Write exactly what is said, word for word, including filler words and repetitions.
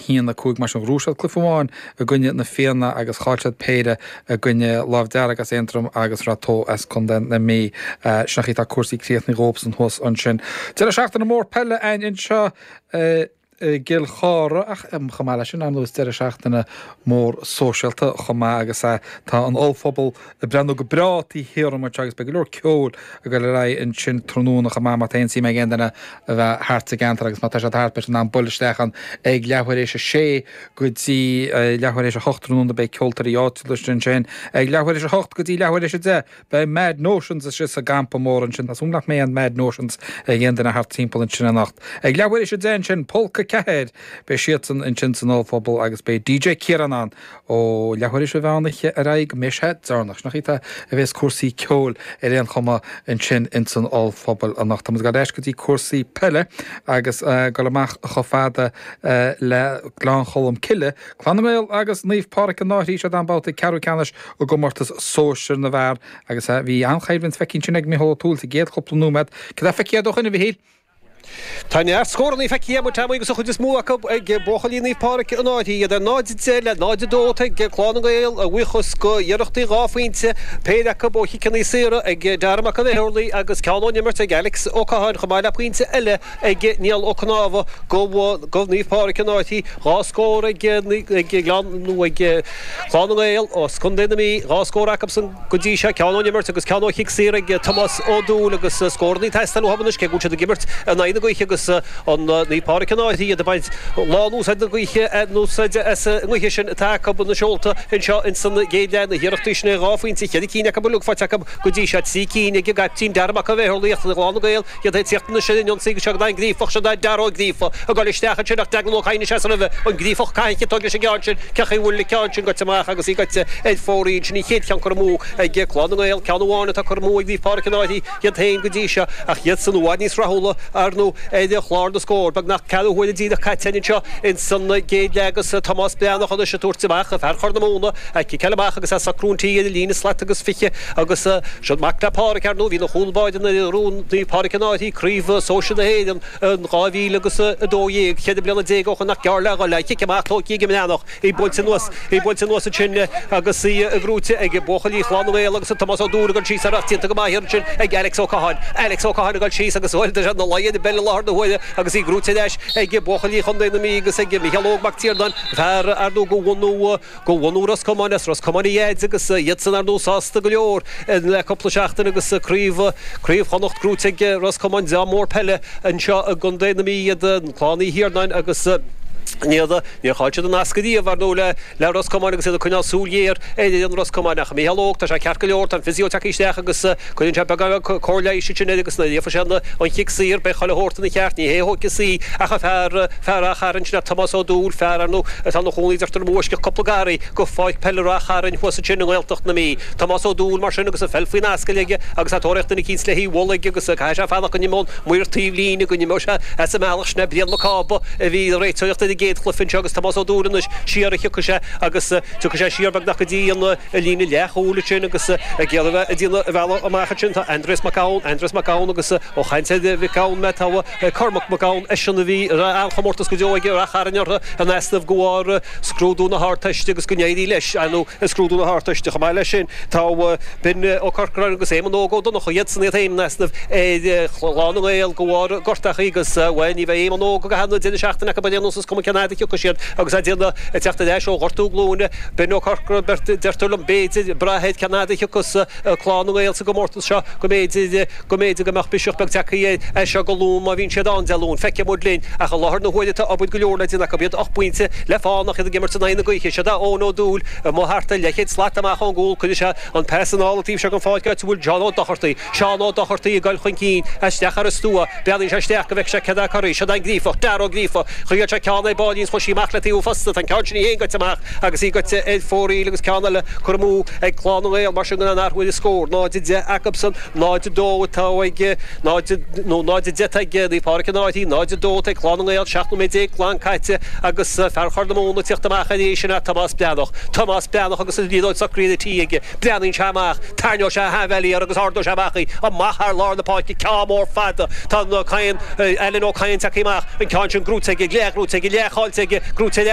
haon a cúig mar sin ghnóthaigh siad cluiche amháin i gcoinne na Fianna agus chaill siad péire i gcoinne Lámh Dearg as Aontroim agus Rath Tó as Contae na Mí. Sin an chaoi atá cúrsaí críochnaithe dhóibhsan thuas ansin. Deireadh seachtaine mór peile againn anseo i gCill Chartha ach chomh maith leis sin ar nós deireadh seachtaine mór sóisialta chomh maith agus tá an ollphuball ag breathnú go breá taobh thiar díom anseo agus beidh go leor ceoil ag dul ar aghaidh ansin tráthnóna chomh maith má tá aon suim ag aon duine a bheith thart sa gceantar agus má tá siad thart beidh siad in ann bualadh isteach ann ag leathuair éis a sé go dtí leathuair éis a hocht tráthnóna beidh ceoltóirí áitiúla ansin ag leathuair éis a hocht go dtí leathuair éis a deich beidh Mad Notions istigh sa gcampa mór ansin Tá súil nach mbeidh an Mad Notions ag aon duine thart timpeall ansin anocht. Ag leathuair éis a deich ansin Polca Ceathair beidh siadsan ansin san ollphuball agus beidh DJ Ciarán ann ó leathuair éis an mheán oíche ar aghaidh go mbeidh sé deireanach. Sin an chaoi a bheas cúrsaí ceoil ar aon chuma ansin insan ollphuball anocht. Tá muid ag dul ar ais go dtí cúrsaí peile agus dul amach chomh fada le Gleann Cholm Cille, Clann na nGael agus Naomh Pádraig an Fhairche siad ann babhta ceathrú ceannais i gcomórtas sóisir na bhfear agus bhí an-choimhlint feicthe ansin ag Micheál Ó Tuathail sa gcéad chúpla nóiméad. Cad é feicthe ó shoin a Mhichíl? Tá neart scóranna feicthe amuigh Tommy agus an chuid is mó acu ag buachaillí Naomh Pádraig an Fhairche, iad ar náid a deich le náid a dó ag Clann na nGael a bhuíochas go iarrachtaí dhá phointe, péire acu ó chiceanna saora ag Dara Mac an Bheithurlaigh agus ceann ón imirt ag Alex Ó Catháin chomh maith le pointe eile ag Niall Ó Cnámha go go Naomh Pádraig an Fhairche, dhá scór ag ag Gleann nó ag Clann na nGael as Contae na Mí, dhá scór acusan go dtí seo, ceann ón imirt agus ceann ó chic saor ag Tomás Ó Dúill agus scóranna ag teastáil uathu anois cé go bhfuil siad ag imirt in aghaidh na gaoithe agus an Naomh Pádraig an Fhairche iad ag baint lán-úsáid na gaoithe úsáid as an ngaoth sin atá acu na seolta anseo ins an gcéad leath na hiarrachtaí sin dhá phointe cheithre cinn acu uilig faighte acu go dtí seo trí cinn ag an gcaiptín Dara Mac an Bheithurlaigh Clann na nGael iad ag tíocht anois ar an ionsaí agus seo an Gríofach seo Dara Ó Gríofa ag dul isteach ansin ach Declan Ó Cadhain seas roimhe an Gríofach caithfidh tóg leis an gceann sin cén chaoi a bhfuil an ceann sin goite amach agus í goite ar fóraoil sin an chéad cheann curtha amú ag Clann na nGael ceann amháin atá curtha amú ag Naomh Pádraig an Fhairche iad féin go dtí seo ach iad san i bhfad níos rathúla ar nó ar chlár na scór beagnach ceathrú huaire díreach caite anseo ins an gcéad leath agus Tomás Breathnach anois ag tabhairt amach fear Chorr na Móna ag ciceáil amach agus é ag socrú an tí ar an líne slat agus fiche agus seo mac le Pádraig ar ndóigh bhí ina chúl báire nuair a ghnóthaigh Naomh Pádraig an Fhairche craobh sóisir na hÉireann in dhá mhíle agus a dó dhéag ceithre bliana déag ó shoin nach gearr le dhul cic amach tógtha ag an mBreathnach í buailte anuas í buailte anuas ansin agus í gnóthaithe ag buachaillí Chlann na nGael agus Tomás Ó Dúill ag dul síos ar ach déanta go maith ansin ag Alex Ó Catháin Alex Ó Catháin ag dul síos agus bhuel tá sé ina luí ar an bpeil i láthair na huaire agus í gnóthaithe ar ais ag buachaillí Chontae na Mí agus ag Micheál Óg Mac Tiarnáin fear ar ndóigh go bhunú go bhunú Ros Comáin as Ros Comáin a dhaid agus iadsan ar ndóigh sásta go leor le cúpla seachtain agus craobh craobh Chonnacht gnóthaithe ag Ros Comáin dream mór peile anseo i gContae na Mí iad Clann Uí Thiarnáin agus níor níor chaill siad an nasc riamh ar ndóigh le le Ros Comáin agus iad ag coinneáil súil ghéar ar fhoireann Ros Comáin ach Micheál Óg tá sé ceart go leor tá an physio tagtha isteach agus cuireann sé beagán cóir leighis ansin air agus nuair a gheobhaidh sé an chic saor beidh chuile shórt ina cheart ní hé a thógfas í ach an fear fear Ráth Chairn sin Tomás Ó Dúill fear ar ndóigh atá ina chónaí deirtear i bhfoisceacht cúpla garraí go pháirc peile Ráth Chairn thuas ansin i nGaeltacht na Mí. Tomás Ó Dúill mar sin agus an pheil faoin ascaill aige agus é ag tóraíocht duine eicínt le hí a bhualadh aige agus caithfidh sé fanacht go n-imeodh an maor taobh líne go n-imeodh sé as an mbealach sin é Brian Mac Cába a bhí ag réiteoireacht ar an gcéad chluiche anseo agus Tomás Ó Dúill anois siar a thiocfaidh sé agus tiocfaidh sé siar beagnach go dtí an líne leathchúil ansin agus ag iarraidh a bheith ag déanamh a bhealach amach ansin tá Andreas Mac Gabhann, Andreas Mac Gabhann agus ó chaint ar Mhic Gabhann mé tá Cormac Mac Gabhann eisean a bhí an-chomórtas go deo aige Ráth Chairn orthu in easnamh go bharr scrúdú na hArdteiste agus go n-éirí leis ar ndóigh i scrúdú na hArdteiste. Chomh maith leis sin tá Ben Ó Corcoráin agus Éamonn Óg Ó Donnchadha iadsan iad féin in easnamh ar Chlann na nGael go bharr gortachaí agus bhuel ní bheidh Éamonn Óg go ceann deireadh seachtaine acu ar aon nós is cuma cén fhad a thiocfaidh siad agus é ag déanamh ag teacht ar ais ó ghortú glúine. Ben Ó Corcoráin beirt deirtear liom b'fhéidir ag brath ar cén fhad a thiocfas Clann na nGael sa gcomórtas seo go mb'fhéidir go mb'fhéidir go mbeadh biseach beag tagtha air as seo go Luan má bhíonn siad ann Dé Luain. Feicfidh muid linn. Ach i láthair na huaire tá obair go leor le déanamh acu. Iad ocht bpointe le fán ach iad ag imirt in aghaidh na gaoithe. Siod é Eoin Ó Dúill amuigh thart ar leathchéad slat amach ón gcúl. Cuirfidh sé an pas anall an taobh seo den pháirc áit a bhfuil Seán Ó Dochartaigh. Seán Ó Dochartaigh ag dul chun cinn isteach ar an stua. Breathnaíonn sé isteach go bhfeicfidh sé céard é corraí. Siod é an Gríofach, Dara Ó Gríofa. Chuir sé ceann ar báillín is chuaigh sí amach le taobh an phosta. Tá an ceann sin í féin goite amach agus í goite ar fóraoil agus ceann eile curtha amú ag Clann na nGael. Mar sin gan aon athrú ar an scór. náid a deich acubsan. náid a dó atá ag náid nó náid a deich atá ag Naomh Pádraig an Fhairche, náid a dó atá ag Clann na nGael, seacht nóiméad déag glan caite agus fear Chorr na Móna ag tíocht amach arís sin é Tomás Breathnach. Tomás Breathnach agus an liathróid socraithe ar an tí aige. Breathnaíonn sé amach, tarraingeoidh sé a thaibh air agus ardóidh sé amach í, amach thar lár na páirce, ceann mór fada. Tá Ó Cadhain, Alan Ó Cadhain tagtha amach, an ceann sin gnóthaithe aige, leathghnóthaithe aige, leathchaillte aige, gnóthaithe ar